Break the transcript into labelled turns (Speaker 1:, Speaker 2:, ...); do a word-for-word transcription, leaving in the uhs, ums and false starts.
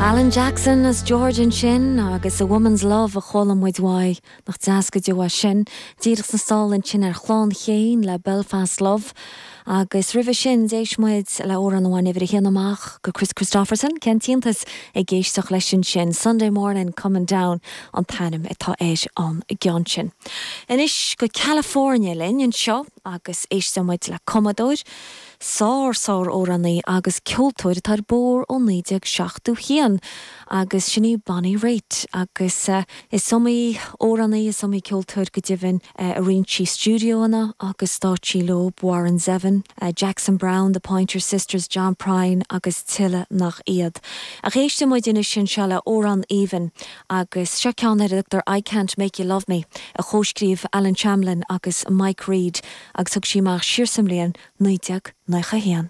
Speaker 1: Alan Jackson as George ansin agus a Woman's Love a chuala muid uaidh nach deas go deo sin, díreach sna sála ansin ar Chlann Chéin le Belfast Love. Agus roimhe sin d'éist muid le amhrán amháin uimhir a haon amach go Kris Kristofferson cén t-iontas ag éisteacht leis sin Sunday morning coming down an t-ainm atá ar an gceann sin. Anois go California linn anseo agus éisteann muid le cumadóir, sár sár amhránaí agus ceoltóir atá ar bór ó naoi déag seachtó haon agus sin í Bonnie Raitt agus uh, is iomaí amhránaí is iomaí ceoltóir go deimhin uh, a roinn sí stiúideoanna agus stáitsí leo Warren Zevon, uh, Jackson Browne, the Pointer Sisters, John Prine agus tuilleadh nach iad. Ach éistfidh muid anois seo le amhrán aoibhinn agus seo ceann ar a dtugtar I Can't Make You Love Me a chomhscríobh Allen Shamlin agus Mike Reid agus thug sí amach siar sa mbliain naoi déag nócha haon.